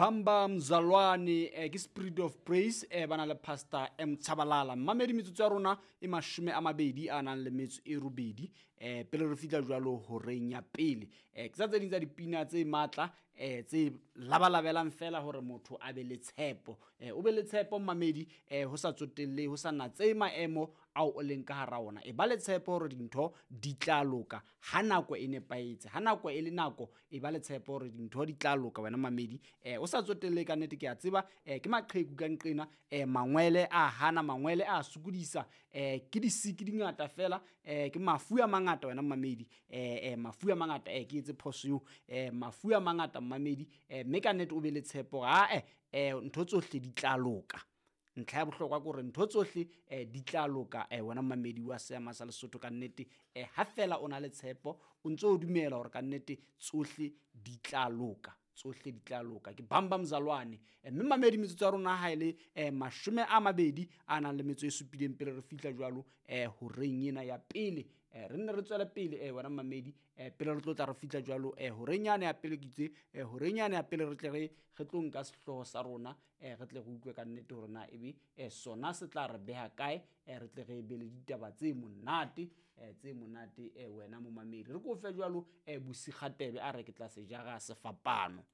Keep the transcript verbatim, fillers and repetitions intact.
Bamba Mzalwane eh, ke Spirit of Praise eh, ba na le Pastor M Tshabalala. Mmamedi, metsotso ya rona e mashome a mabedi a nang le metso e robedi eh, pele re fihla jwalo horeng ya pele. Eh, ke tsa tse ding tsa dipina tse matla eh, tse labalabelang fela hore motho a be le tshepo. Eh, o be le tshepo mmamedi, eh, ho sa tsotelle, ho sa natse maemo ao o leng ka hara ona. E ba le tshepo hore dintho di tla loka ha nako e nepahetse, ha nako e le nako. E ba le tshepo hore dintho di tla loka wena mamedi, eh, o sa tsotelle. Ka nnete ke a tseba eh, ke maqheku ka nqena, eh, mangwele a hana, mangwele a sokodisa, eh, ke disiki di ngata fela, eh, ke mafu a mangata wena mamedi, eh, eh, mafu a mangata, eh, ke etse phoso eo, eh, mafu a mangata mmamedi, eh, mme ka nnete o be le tshepo hore ae, eh, ntho tsohle di tla loka. Ntlha ya bohlokwa ke hore ntho tsohle eh, di tla loka, eh, wena mamedi wa seama sa Lesotho. Ka nnete eh, ha fela o na le tshepo, o ntso o dumela hore ka nnete tsohle di tla loka, tsohle di tla loka. Ke Bamba Mzalwane. eh, mme mamedi, metsotso ya rona ha e le eh, mashome a mabedi a nang le metso e supileng pele re fihla jwalo eh, horeng ena ya pele. eh, re nne re tswele pele, eh, wena mamedi, eh, pele re tlo tla re fihla jwalo eh, horeng yane ya pele. Ke itse eh, horeng yane ya pele re tle re re tlo nka sehlooho sa rona, eh, re tle re utlwe ka nnete hore na ebe eh, sona se tla re beha kae, eh, re tle re be le ditaba tse monate, eh, tse monate, eh, wena momamedi. Re ko fe jwalo eh, Bosikgatebe a re ke tla se jara sefapano.